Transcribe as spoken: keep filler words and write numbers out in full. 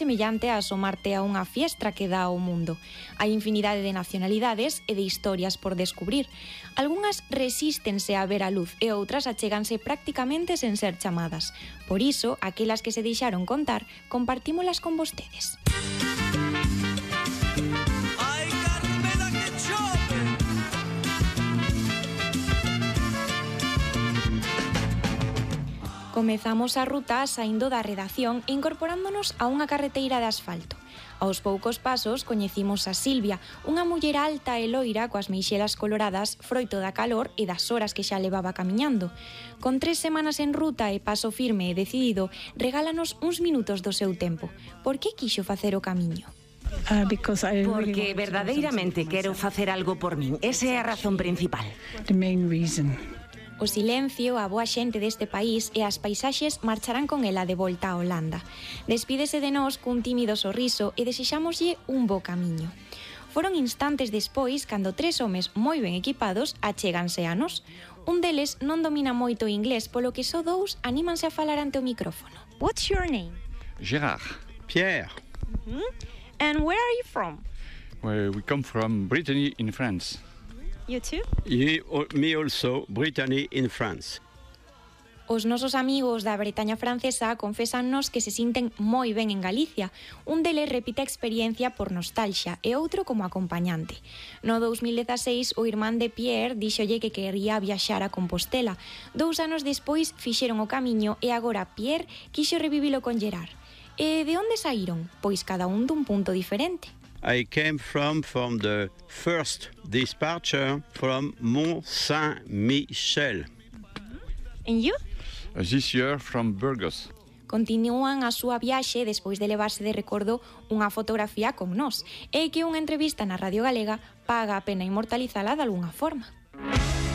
semellante a asomarte a unha fiestra que dá ao mundo. Hai infinidade de nacionalidades e de historias por descubrir. Algunhas resístense a ver a luz e outras achéganse prácticamente sen ser chamadas. Por iso, aquelas que se deixaron contar, compartímolas con vostedes. Comezamos a ruta saindo da redacción e incorporándonos a unha carreteira de asfalto. Aos poucos pasos coñecimos a Silvia, unha muller alta e loira coas meixelas coloradas froito da calor e das horas que xa levaba camiñando. Con tres semanas en ruta e paso firme e decidido, regálanos uns minutos do seu tempo. Por que quixo facer o camiño? Uh, Porque verdadeiramente quero facer algo por min. Esa é a razón principal. The main reason. O silencio, a boa xente deste país e as paisaxes marcharán con ela de volta a Holanda. Despídese de nós cun tímido sorriso e desexámoslle un bo camiño. Foron instantes despois cando tres homes moi ben equipados achéganse a nós. Un deles non domina moito o inglés, polo que só dous anímanse a falar ante o micrófono. What's your name? Gérard. Pierre. Mm-hmm. And where are you from? Well, we come from Brittany in France. You too? You, me also, Brittany in France. Os nosos amigos da Bretaña francesa confésannos que se sinten moi ben en Galicia. Un deles repite a experiencia por nostalgia e outro como acompañante. No dous mil dezaseis, o irmán de Pierre díxolle que quería viaxar a Compostela. Dous anos despois fixeron o camiño e agora Pierre quixo revivilo con Gerard. E de onde saíron? Pois cada un dun punto diferente. I came from from the first dispatcher from Mont Saint-Michel. And you? Uh, this year from Burgos. Continúan a súa viaxe despois de levarse de recordo unha fotografía con nós e que unha entrevista na Radio Galega paga a pena inmortalizala de algunha forma.